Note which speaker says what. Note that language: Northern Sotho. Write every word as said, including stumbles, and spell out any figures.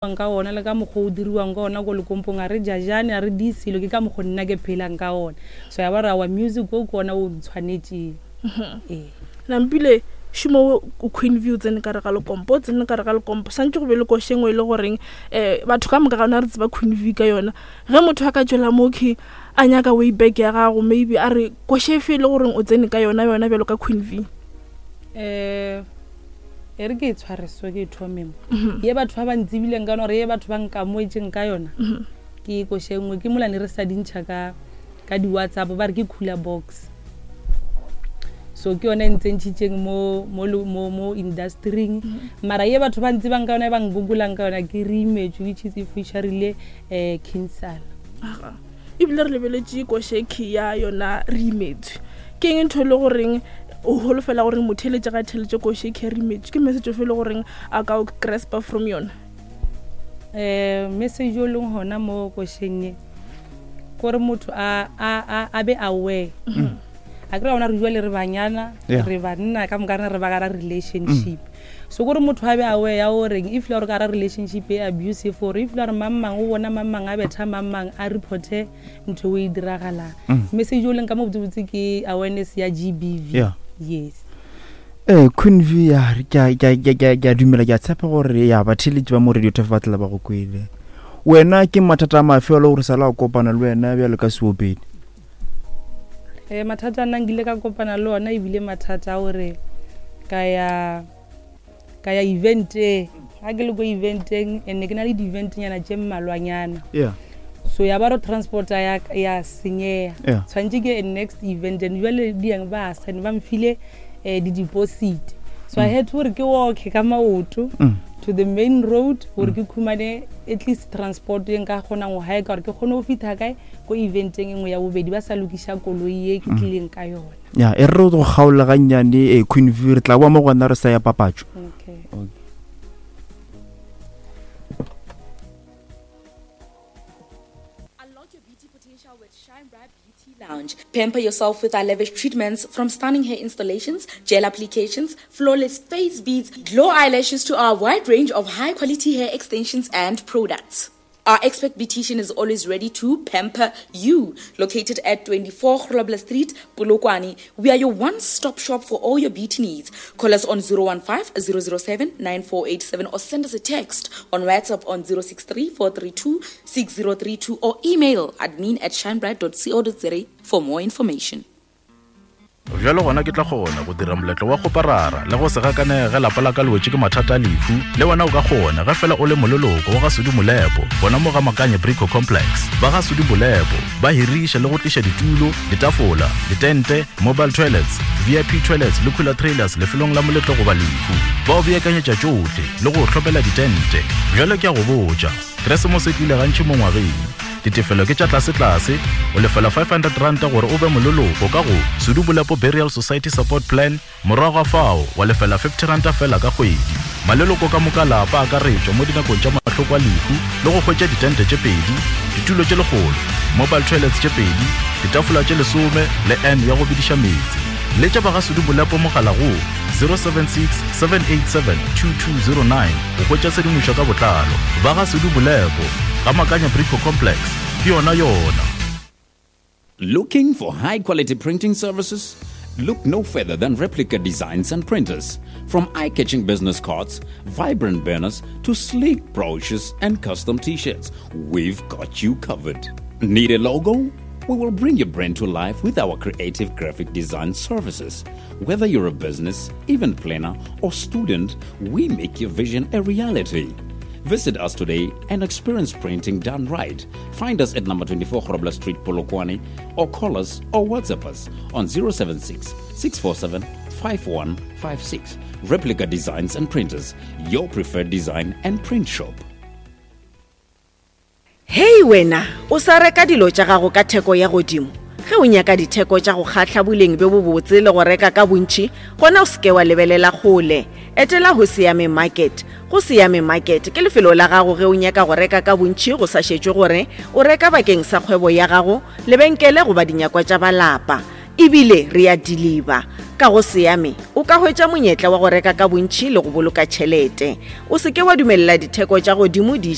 Speaker 1: Ka ona le ka mokgwa o diriwang ka ona ko lekompong, a re jajane, a re di selo, ke ka mokgwa nna ke phelang ka ona. So ya ba re awa, music o ke ona o ntshwanetseng, ee.
Speaker 2: Nampile šomo o Queen V o tsene ka re ga lekompo, o tsene ka re ga lekompo santse go be le koše engwe e le goreng um batho ka moka ga ona re tseba Queen V ka yona. Ge motho a ka tswela mokhi a nyaka way back ya gago, maybe a re koše efe e le goreng o tsene ka yona yona bjalo ka Queen V?
Speaker 1: um e re ke e tshware so, ke e thome mo ye batho ba ba ntsebileng ka yona, gore ye batho ba nkamoetseng ka yona, ke koše nngwe ke molane re sa dintšha ka ka di-WhatsApp, ba re ke cooler box. So ke yone e ntse ntšhitšeng mo mo mo mo industryng. Mara ye batho ba ntsebang ka yona, e ba ngogolang ka yona, ke Reimetswe, which is e featurile um Kinsala.
Speaker 2: Aga, ebile re lebeletše košekhi ya yona Reimetswe. Ke eng ntho e le goreng o holofela gore motheletše ga theletše košekhi ya Reimetswe? Ke message ofe e le goreng a ka o graspa from yona?
Speaker 1: um message o leng gona mo košeng e kore motho a a a a be aware. A kry ona re jale re banyana,
Speaker 3: Yeah.
Speaker 1: re banna ka moka rena re ba gara relationship. So kore motho a be aware ya goreng if le gore ka gara relationship e abusive, or if le gore mang mang o bona mang mang a betha mang mang, a reporte ntho e diragalang. Message o leng ka mo botsebotse ke awareness ya G B V.
Speaker 3: Yeah.
Speaker 1: Yes.
Speaker 3: Ee, Queen V, ya ke a- ke a- ke a- ke a- ke a dumela, ke a tshepa gore ya batheletši ba mo Radio Turf ba tla ba go kwele. Wena ke mathata a mafe a le gore sala o kopana le wena bjalo ka seopedi?
Speaker 1: um mathata a nna nkile ka kopana le ona, ebile mathata a gore ka ya ka ya eventeng. Ga ke le ko eventeng, and ke na le di-eventnyana tše mmalwanyana,
Speaker 3: yeah
Speaker 1: so ya ba re transporta ya, ya senyega.
Speaker 3: Yeah.
Speaker 1: Tshwanetse ke next event, and jale diang ba sane ba mfile um di-deposit, so I had to gore ke walke ka maoto
Speaker 3: Mm.
Speaker 1: to the main road gore ke khumane at least transport e nka kgonang go haeka, gore ke kgone go fitlha kae ko eventeng e nngwe ya bobedi, ba sa lokiša koloi ye ke tlileng ka yona.
Speaker 3: Ya, e re go kgaola gannyane, eh, Queen V, re tla boa mo gona re sa ya papatšo.
Speaker 1: Okay.
Speaker 3: Okay.
Speaker 4: Unlock your beauty potential with Shine Bright Beauty Lounge. Pamper yourself with our lavish treatments, from stunning hair installations, gel applications, flawless face beads, glow eyelashes to our wide range of high quality hair extensions and products. Our expert beautician is always ready to pamper you. Located at twenty-four Grobler Street, Polokwane, we are your one-stop shop for all your beauty needs. Call us on zero one five zero zero seven nine four eight seven or send us a text on WhatsApp on zero six three four three two six zero three two or email admin at shinebright dot co dot za for more information.
Speaker 5: Bjalo gona ke tla kgona go dira moletlo wa kgoparara le go se gakanege lapa la ka le wetše ke mathata a lehu. Le wena o ka kgona ge fela o le moleloko wa ga Sudi Molepo gona mo ga Makanye Brico Complex. Ba ga Sudi Molepo ba hiriša le go tliša ditulo, ditafola, ditente, mobile toilets, V I P toilets le cooler trailers lefelong la moletlo goba lehu. Ba o beakanyetša tšohle le go hlopela ditente. Bjalo ke a go botša, Keresemose e tlile gantši mo ngwageng. Ditefelo ke tša tlasetlase, o lefela five hundred ranta gore o be moleloko ka go Sudu Bolepo Burial Society Support Plan. Morago ga fao wa lefela fifty ranta fela ka kgwedi. Maleloko ka moka lapa akaretšwa mo dinakong tša mahloko a lehu le go hwetša ditente tše pedi, ditulo tše lekgolo, mobile toilets tše pedi, ditafola tše lesome le n ya go bediša meetse. Letša ba ga Sudu Bolepo mogala go zero seven six seven eight seven two two zero nine go hwetša tshedimošo ka botlalo. Ba ga Sudu Bolepo ga Makanya Brico Complex, ke yona yona.
Speaker 6: Looking for high quality printing services? Look no further than Replica Designs and Printers. From eye catching business cards, vibrant banners, to sleek brochures and custom t shirts, we've got you covered. Need a logo? We will bring your brand to life with our creative graphic design services. Whether you're a business, event planner, or student, we make your vision a reality. Visit us today and experience printing done right. Find us at number twenty-four Grobler Street, Polokwane, or call us or WhatsApp us on zero seven six six four seven five one five six. Replica Designs and Printers, your preferred design and print shop.
Speaker 7: Hei wena, o sa reka dilo tša gago ka theko ya godimo? Ge o nyaka ditheko tša go kgahla, boleng bjo bobotse le go reka ka bontši, gona o seke wa lebelela kgole. Etela go Siame Market. Go Siame Market ke lefelo la gago ge o nyaka go reka ka bontši, go sa šetšwe gore o reka bakeng sa kgwebo ya gago, lebenkele goba dinyakwa tša balapa. Ebile re a deliver. Ka go Seame o ka hwetša monyetla wa go reka ka bontši le go boloka tšhelete. O se ke wa dumelela ditheko tša godimo di